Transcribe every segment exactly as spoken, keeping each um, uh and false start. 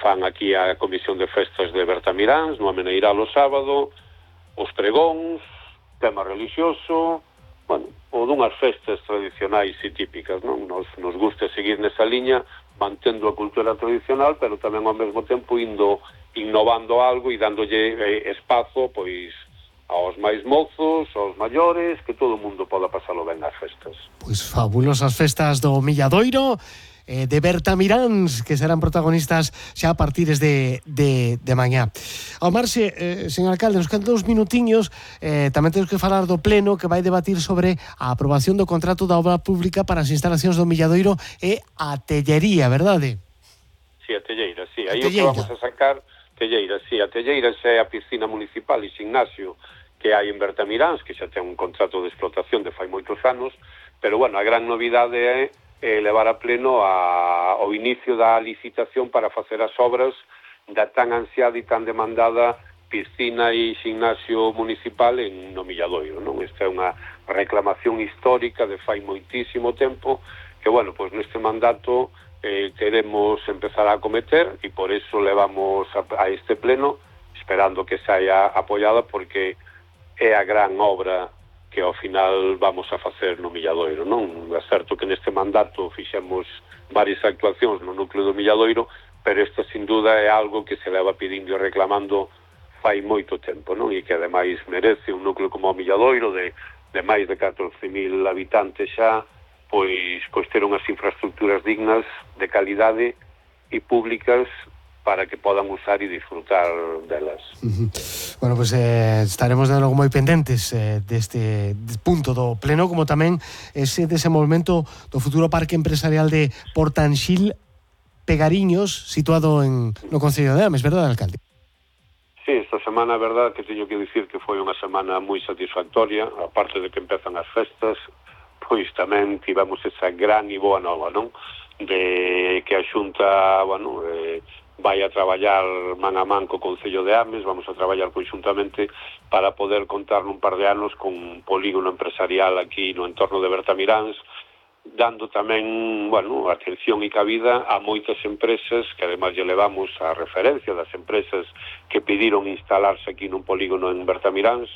fan aquí a Comisión de Festas de Bertamiráns, no Ameneiral o sábado, os pregóns, tema religioso, bueno, ou dunhas festas tradicionais e típicas, non? Nos, nos gusta seguir nesa liña, mantendo a cultura tradicional, pero tamén ao mesmo tempo indo innovando algo e dándolle eh, espazo, pois, aos máis mozos, aos maiores, que todo o mundo poda pasalo ben as festas. Pois fabulosas festas do Milladoiro, eh, de Bertamiráns, que serán protagonistas xa a partir de, de, de mañá. Ao marxe, eh, señor alcalde, nos quedan dous minutiños, eh, tamén temos que falar do pleno que vai debatir sobre a aprobación do contrato da obra pública para as instalacións do Milladoiro e a tellería, verdade? Sí, a telleira, sí. Aí o que vamos a sacar, telleira, sí. A telleira xa é a piscina municipal e gimnasio que hai en Bertamiráns, que xa ten un contrato de explotación de fai moitos anos, pero, bueno, a gran novidade é eh, levar a pleno a, ao inicio da licitación para facer as obras da tan ansiada e tan demandada piscina e gimnasio municipal en no Milladoiro, non? Esta é unha reclamación histórica de fai moitísimo tempo que, bueno, pois neste mandato eh, queremos empezar a acometer e por eso levamos a, a este pleno esperando que saia apoiada porque é a gran obra que ao final vamos a facer no Milladoiro, non? É certo que neste mandato fixemos varias actuacións no núcleo do Milladoiro, pero esta sin duda é algo que se leva pedindo e reclamando fai moito tempo, non? E que ademais merece un núcleo como o Milladoiro de, de máis de catorce mil habitantes xa, pois, pois ter unhas infraestructuras dignas, de calidade e públicas para que podan usar e disfrutar delas. Uh-huh. Bueno, pues eh, estaremos de logo moi pendentes eh, deste punto do pleno, como tamén ese desenvolvemento do futuro parque empresarial de Portanxil Pegariños, situado en no Concello de Ames, verdade, alcalde? Sí, esta semana, a verdade, que teño que dicir que foi unha semana moi satisfactoria, aparte de que empezan as festas, pois tamén tivemos esa gran e boa nova, non? De que a Xunta, bueno, eh, vai a traballar man a man co Concello de Ames, vamos a traballar conxuntamente para poder contar nun par de anos con un polígono empresarial aquí no entorno de Bertamiráns, dando tamén, bueno, atención e cabida a moitas empresas que ademais lle levamos a referencia das empresas que pediron instalarse aquí nun polígono en Bertamiráns,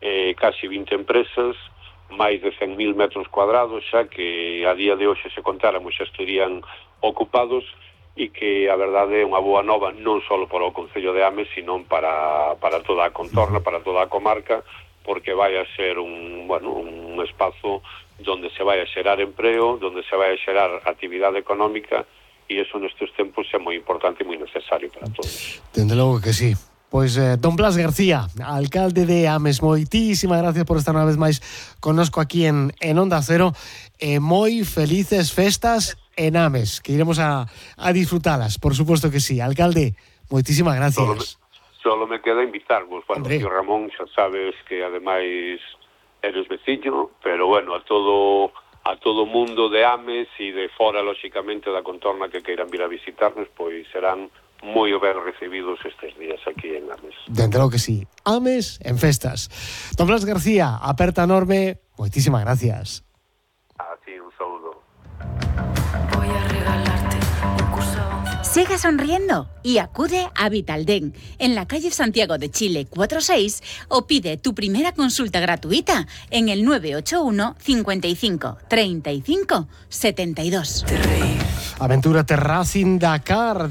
eh, casi vinte empresas, máis de cen mil metros cuadrados xa que a día de hoxe se contáramos xa estarían ocupados e que a verdade é unha boa nova non só para o Concello de Ames, sino para, para toda a contorna, para toda a comarca, porque vai a ser un, bueno, un espazo donde se vai a xerar empreo, donde se vai a xerar actividade económica, e iso nestes tempos é moi importante e moi necesario para todos. Dende logo que sí. Pois eh, don Blas García, alcalde de Ames, moitísimas gracias por estar unha vez máis connosco aquí en, en Onda Cero, e moi felices festas en Ames, que iremos a, a disfrutalas, por supuesto que sí. Alcalde, moitísimas gracias. Solo me, solo me queda invitarvos, bueno, tío Ramón, xa sabes que ademais eres veciño, pero bueno, a todo a todo mundo de Ames e de fora, lóxicamente, da contorna que queiran vir a visitarnos, pois serán moi ben recibidos estes días aquí en Ames. Dentro que sí. Ames en festas. Don Blas García, aperta enorme, moitísimas gracias. A ti un saludo. Voy a regalarte un curso. Sigue sonriendo y acude a Vitaldent en la calle Santiago de Chile cuatro seis o pide tu primera consulta gratuita en el nueve ocho uno, cincuenta y cinco, treinta y cinco, setenta y dos. Aventúrate Racing Dakar.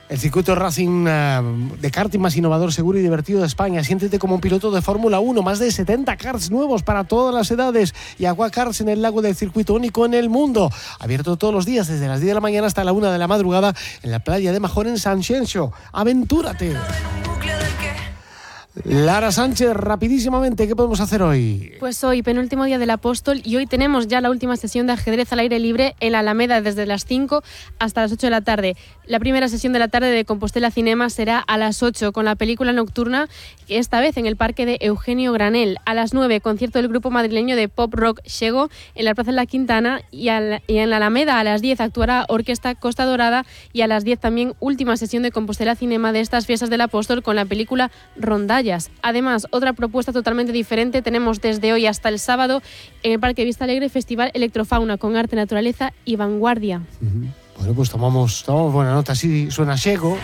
El circuito Racing uh, de karting más innovador, seguro y divertido de España. Siéntete como un piloto de Fórmula uno. Más de setenta karts nuevos para todas las edades. Y Agua Karts en el lago del circuito único en el mundo. Abierto todos los días desde las diez de la mañana hasta la una de la madrugada en la playa de Majón en San Xenxo. ¡Aventúrate! Lara Sánchez, rapidísimamente, ¿qué podemos hacer hoy? Pues hoy, penúltimo día del Apóstol, y hoy tenemos ya la última sesión de ajedrez al aire libre en la Alameda desde las cinco hasta las ocho de la tarde. La primera sesión de la tarde de Compostela Cinema será a las ocho con la película nocturna, esta vez en el Parque de Eugenio Granel. A las nueve, concierto del grupo madrileño de pop rock Xego en la Plaza de la Quintana, y, al, y en la Alameda a las diez actuará Orquesta Costa Dorada, y a las diez también última sesión de Compostela Cinema de estas fiestas del Apóstol con la película Rondalla. Además, otra propuesta totalmente diferente tenemos desde hoy hasta el sábado en el Parque Vista Alegre, Festival Electrofauna con arte, naturaleza y vanguardia. Uh-huh. Bueno, pues tomamos, tomamos buena nota, así suena Xego.